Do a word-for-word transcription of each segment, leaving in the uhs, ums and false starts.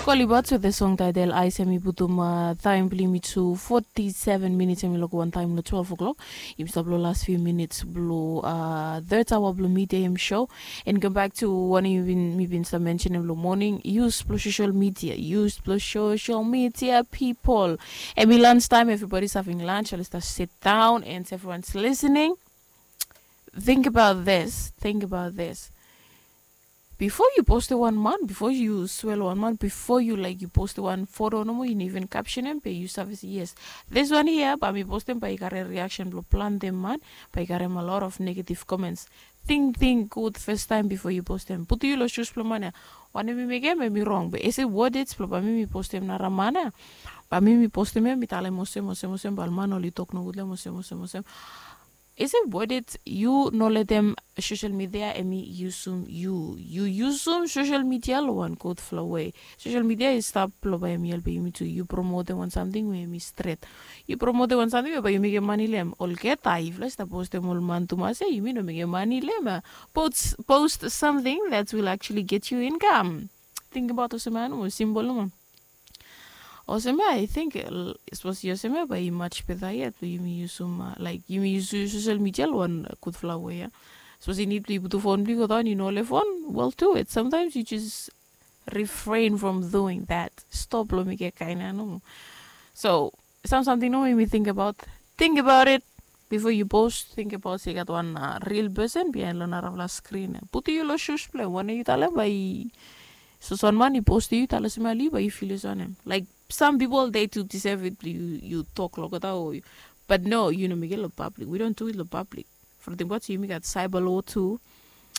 Kolibat with the song title Ice, em i putum taem blong yumi tu forty-seven minutes, em i loko wan taem long twelve o'clock. Yumi stap long last few minutes blong third hour blong midday em show. And go back to wanem mi bin stap mentionem long morning, use blong social media, use blong social media, people. Em i lunch time, everybody is having lunch, oli stap sit down and everyone's listening. Think about this, think about this. Before you post wan man, before you swell wan man, before you like you post wan foto nomo, you even caption em, be you save se yes, this one here, ba mi postem ba i kare reaction blong planti man, ba i karem a lot of negative comments. Ting ting gud first time before you postem. Put you long shoes blong man ya. Wanem mi mekem em i rong, be ese worded blong ba mi mi postem nara man ya. Ba mi mi postem ya, mi talem olsem olsem olsem, ba ol man oli tok nogud long em olsem olsem olsem. Ese worded, yu no letem social media em i yusum yu. Yu yusum social media long wan gudfala wei. Social media i stap blong bae em i helpem yumi tu yu promotem wan samting we em i stret. Yu promotem wan samting we bae yu mekem mani long em. Olgeta yufala i stap postem ol man tumas ya, yumi no mekem mani long em ya. Post, post something that will actually get you income. Tingbaot olsem ya nomo, simbol nomo. Olsem ya, I think, sapos i olsem ya bae i much better yet blong yumi yusum, laik yumi yusum social media long wan gudfala wei ya. Sapos i nid blong yu putum fon blong yu godaon, yu no olgeta fon, well, do it. Sometimes you just refrain from doing that. Stop long mekem kaen ya nomo. So sam samting nomo yumi tingbaot. Think about it before you post. Tingbaot se i gat wan real person biaen long narafala screen ya. Putum yu long shoes blong em. Wanem yu talem bae i, sapos wan man i postem yu, talem olsem ya long yu, bae yu feel olsem wanem? Like, some people they do deserve it blong yu tok long olgeta o, but no, yu no mekem long public. We don't do it long public. From tingbaot se yumi gat cyber law tu.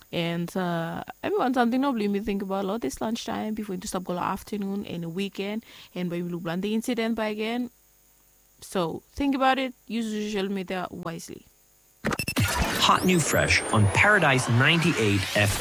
And em i wan samting nomo blong yumi tingbaot long this lunch time before yumi stap go long afternoon and weekend, and bae yumi luk planti incident bakegen. So think about it, use social media wisely. Hot new fresh on Paradise ninety-eight F M.